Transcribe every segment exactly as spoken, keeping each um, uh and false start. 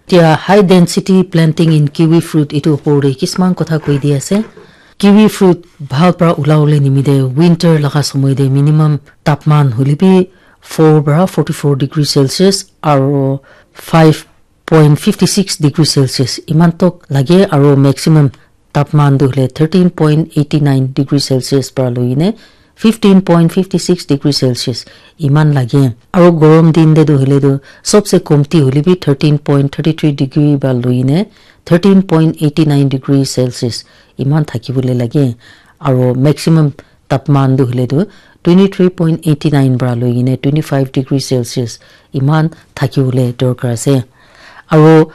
Tia high density planting in kiwi fruit itu opor de kisman kotha koi di ase. Kiwi fruit bhal pra ulawole nimite winter laga somoy te minimum tapman hoilebi four pra forty-four degree Celsius aro five point fifty-six degree Celsius iman tok lage, aro maximum tapman tu hule thirteen point eighty nine degree Celsius pra loine fifteen point fifty six degree Celsius iman lage. Aro gorom din te tu hule tu sobse komti hoilebi thirteen point thirty three degree pra loine thirteen point eighty nine degree Celsius iman thakibole lage. Aro maximum tapman tu hule tu twenty three point eighty nine pra loine twenty five degree Celsius iman thakibole dorkar ase. Aro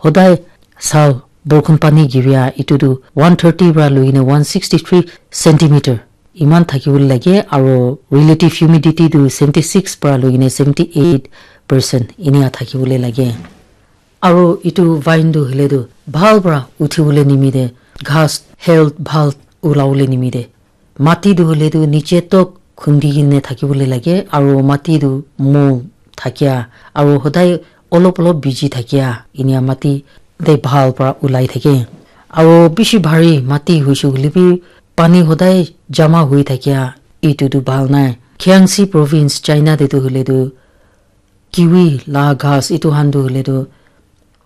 hodai sal borkhon pani giria itu tu one thirty pra loine one sixty three centimeter iman thakibole lage, aro relative humidity tu seventy six pra loine seventy eight percent inia thakibole lage. Aro itu vine tu hule tu bhal pra uthibole nimite, ghas health bhal ulawole nimite, mati tu hule tu niche tok khundi kine thakibole lage, aro mati tu mo thakia, aro hodai olop olop biji thakia inia mati te bhal pra ulai thake. Aro bishi bhari mati hoishe hoilebi pani hodai jama hui thakia itu tu bhal nai. Jiangxi province China te tu hule tu kiwi la ghas itu khan tu hule tu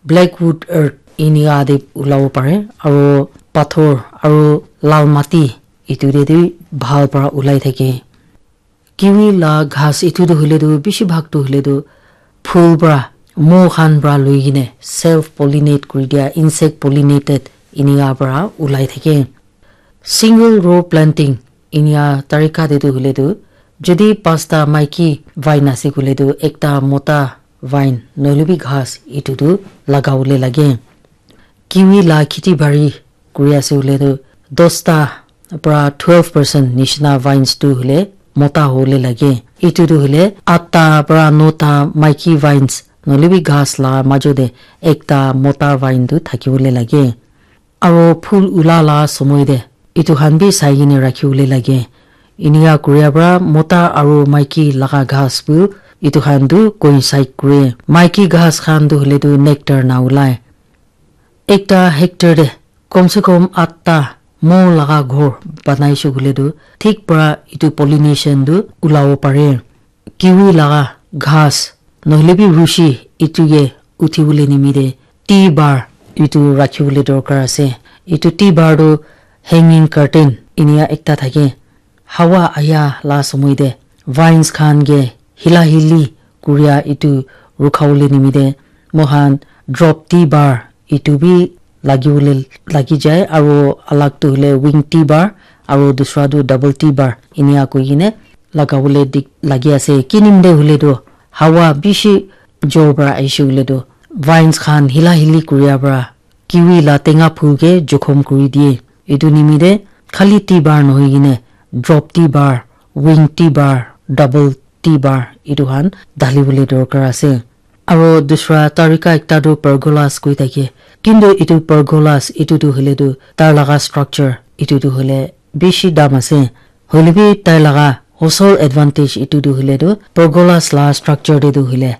blackwood earth inia te ulabo pare, aro pathor aro lal mati itu te tu bhal pra ulai thake. Kiwi la ghas itu tu hule tu bishi bhag tu hule tu phul pra, mo khan pra loi kine self pollinate kuri dia, insect pollinated inia pra ulai thake. Single row planting inia tarika te tu hule tu jodi pasta maiki vine ase kule tu ekta mota vine nohole bi ghas itu tu lagawole lage. Kiwi la kheti bari kuri ase hoile tu dosta pra twelve percent nishina vines tu hoile mota hobole lage. Itu tu hoile atta pra nota maiki vines nohole bi ghas la majo te ekta mota vine tu thakibole lage. Aro phul ula la somoy te itu khan bi sai kene rakhi bole lage. Inika kuria pra mota aro maiki laga ghas bu itu khan tu coincide kure. Maiki ghas khan tu hoile tu nectar na ulai. Ekta hectare te kom se kom atta mo laga ghor banai se koile tu thik pra itu pollination tu ulabo pare. Kiwi laga ghas nohole bi rushi itu ke uthi bole nimite T-bar itu rakhi bole dorkar ase. Itu T-bar tu hanging curtain inika ekta thake. Hawa aya la somoy te vines khan ke hila hili kuria itu rukha bole nimite moikhan drop T-bar itu bi lagi bole lagi jai, aro alag tu hoile wing T-bar aro dusra tu double T-bar inika koi kene laga bole dik lagi ase. Kinim te hoile tu hawa bishi jor pra ahishe koile tu vines khan hila hili kuria pra kiwi la tenga phul ke jokhom kuri diye. Itu nimite khali T-bar nohoi kene drop T-bar, wing T-bar, double T-bar itu khan dali bole dorkar ase. Aro dusra tarika ekta tu pergolas koi thake. Kintu itu pergolas itu tu hoile tu tar laga structure itu tu hoile bishi dam ase. Hoile bi tai laga osol advantage itu tu hoile tu pergolas la structure te tu hoile